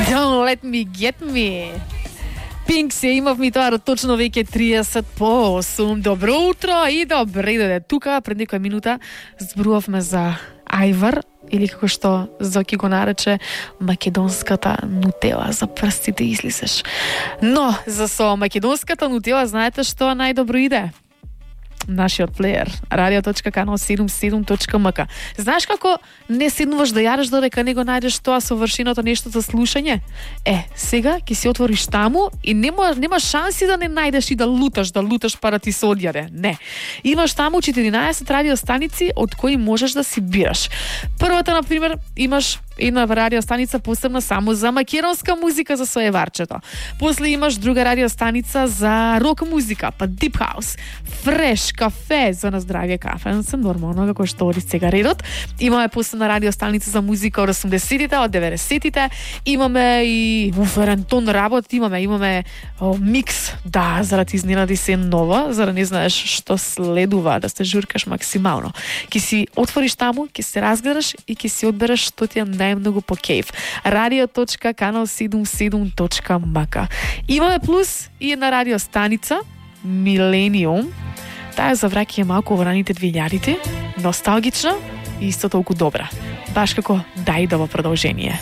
Don't let me get me. Пинк се имав ми тоа точно веќе 30 по 8. Добро утро и добре дојде. Тука пред некоја минута зборувавме за ајвар или како што Зоки го нарече македонската нутела за прстите излисеш. Но за со македонската нутела знаете што најдобро иде? Нашиот плеер radio.kanal77.mk. Знаеш како не седнуваш да јадеш додека не го најдеш тоа совршеното нешто за слушање? Сега ќе си отвориш таму и нема шанси да не најдеш и да луташ пара ти се одјаде. Не. Имаш таму 14 радиостаници од кои можеш да си бираш. Првата, на пример, имаш една радиостаница посебна само за македонска музика за своеварчето. После имаш друга радиостаница за рок музика, па дип хаус, фреш, кафе, за на здравје кафе, се нормално како што оди сега редот. Имаме посебна радиостаница за музика од 80-тите, од 90-тите. Имаме и уферентон работ, имаме микс, да, за да ти изненади се нова, за да не знаеш што следува, да се журкаш максимално. Ке си отвориш таму, ке се разгледаш и ке си одбереш што ти е најмногу по кејф. radio.kanal77.mk. Имаме плюс и една радиостаница Милениум. Таа за враќање малку во раните 2000-ти, носталгична и исто толку добра. Баш како Дајдово продолжение.